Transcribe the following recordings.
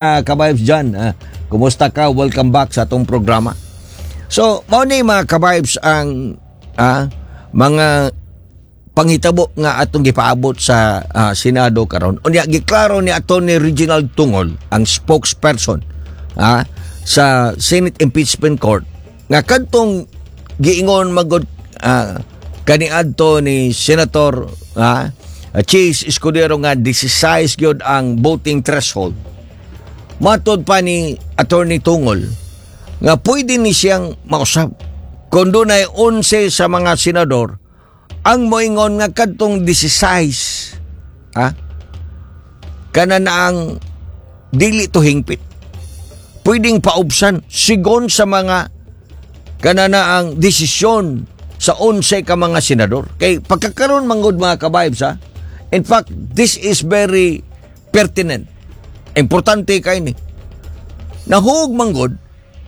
Ka-vibes dyan. Kumusta ka? Welcome back sa atong programa. So, mao ni, mga ka-vibes, ang mga panghitabo nga atong gipaabot sa Senado karon. Unya giklaro ni Attorney Reginald Tungol, ang spokesperson sa Senate Impeachment Court, nga kadtong giingon magod kaniadto ni Senator Chiz Escudero nga 16 gyud ang voting threshold. Matod pa ni Attorney Tungol nga pwede ni siyang mausab kung dunay 11 sa mga senador ang moingon nga kadtong 16 kana na ang dili to hingpit, pwedeng paubsan sigon sa mga kana na ang desisyon sa 11 ka mga senador. Kay pagkakaroon manggod, mga ka-vibes, ha, in fact, this is very pertinent, importante kay ni nahug manggod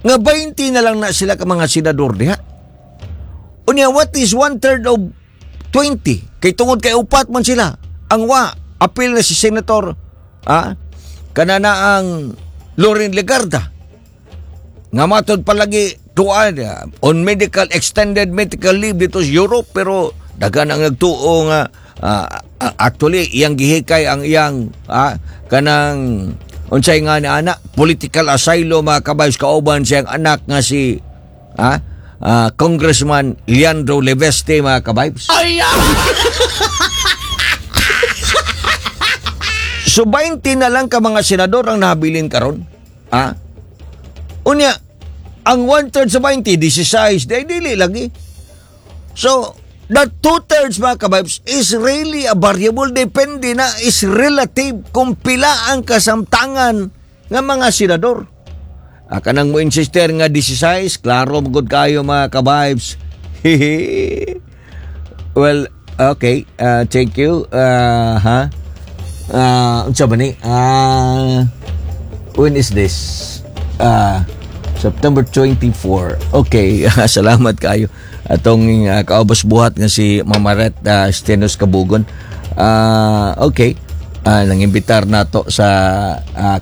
nga 20 na lang na sila ka mga senador diha. Unya, what is one third of 20? Kay tungod kay upat man sila ang wa apil na si Senator kana na ang Loren Legarda nga matod palagi tuan on medical extended medical leave dito sa Europe, pero daghan ang nagtuo nga actually iyang gihikay ang iyang kanang unsay nga ni anak, political asylum, mga ka-vibes, kauban siyang anak nga si Congressman Leandro Leveste, mga ka-vibes. So 20 na lang ka mga senador ang nahabilin karon. Unya, ang one-third sa 20, 16, di dili lagi. So, the two-thirds, mga ka-vibes, is really a variable. Depende na, is relative kung pila ang kasamtangan nga mga senador. Kanang mo insister nga 16, klaro magud kayo, mga ka-vibes. Well, okay. Thank you. Ha? Unsa ba ni? When is this? September 24. Okay, salamat kayo. Atong kaubos buhat nga si Mamaret Stenos Kabugon. Okay. Nang imbitar nato sa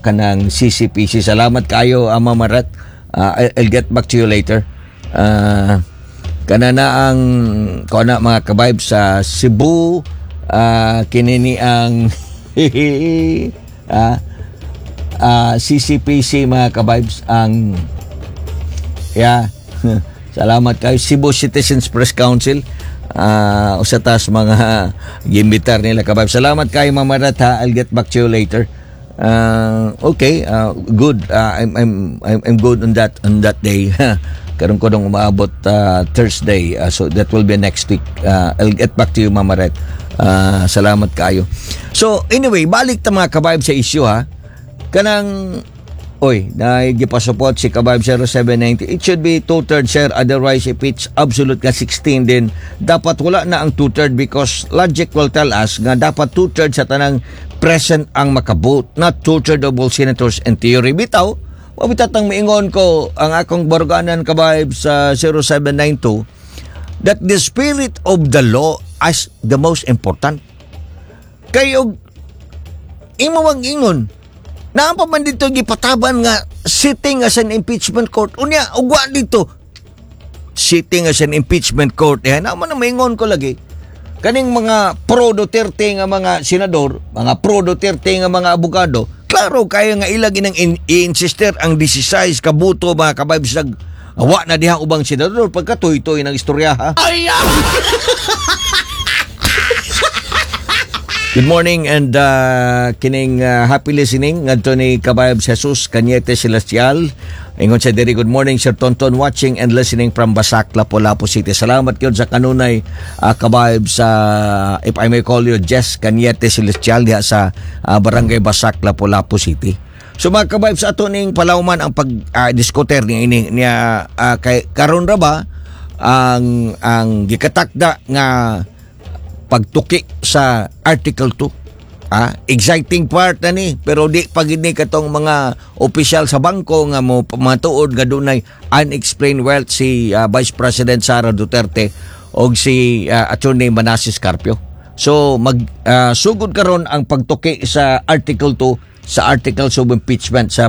kanang CCPC. Salamat kayo, Mamaret. I'll get back to you later. Kana na ang kana, mga ka-vibes, sa Cebu, kinini ang CCPC, mga ka-vibes, ang yeah, salamat kayo, Cebu Citizens Press Council, usa tas mga gimbitar nila, ka-vibes. Salamat kayo, Mama Rat, ha. I'll get back to you later. Okay, good. I'm good on that day. Karon ko dong umaabot Thursday, so that will be next week. I'll get back to you, Mama Ret. Salamat kayo. So anyway, balik ta, mga ka-vibe, sa issue, ha. Kanang oy, naigipasupot si ka-vibe 0790. It should be two-thirds, sir. Otherwise, if it's absolute ka 16 din, dapat wala na ang two-third because logic will tell us nga dapat two-thirds sa tanang present ang makabote, not two-third of all senators in theory. Bitaw, mabitatang miingon ko ang akong baruganan, ka-vibe sa 0792, that the spirit of the law is the most important. Kay og imo mang ingon, naa pa man dito gipataban nga sitting as an impeachment court. Unya, ugwa dito sitting as an impeachment court. Eh, naman na maingon ko lagi. Kaning mga pro Duterte nga mga senador, mga pro Duterte nga mga abogado, klaro kayo nga ilag inang i-insister ang 16 ka buto, mga ka-vibes, nag wa na diha ubang senador pagka tuy-tuy ng istorya, ha. Good morning and kining happy listening ngadto ni ka-vibes Jesus Cañete Celestial. Ingon sa diri, "Good morning, Sir Tonton, watching and listening from Basak, Lapu-Lapu City." Salamat gyud sa kanunay, ka-vibes sa if I may call you Jess Cañete Celestial diha sa Barangay Basak, Lapu-Lapu City. So mga ka-vibes, ato ning palawman ang pag diskuter ni ini niya kay karon ra ba ang gikatakda nga pagtuki sa Article 2. Exciting part na ni, pero di pag ni katong mga opisyal sa bangko nga mo matuod nga dunay unexplained wealth si Vice President Sara Duterte og si Attorney Manases Carpio. So mag sugod karon ang pagtuki sa Article 2. Sa articles of impeachment sa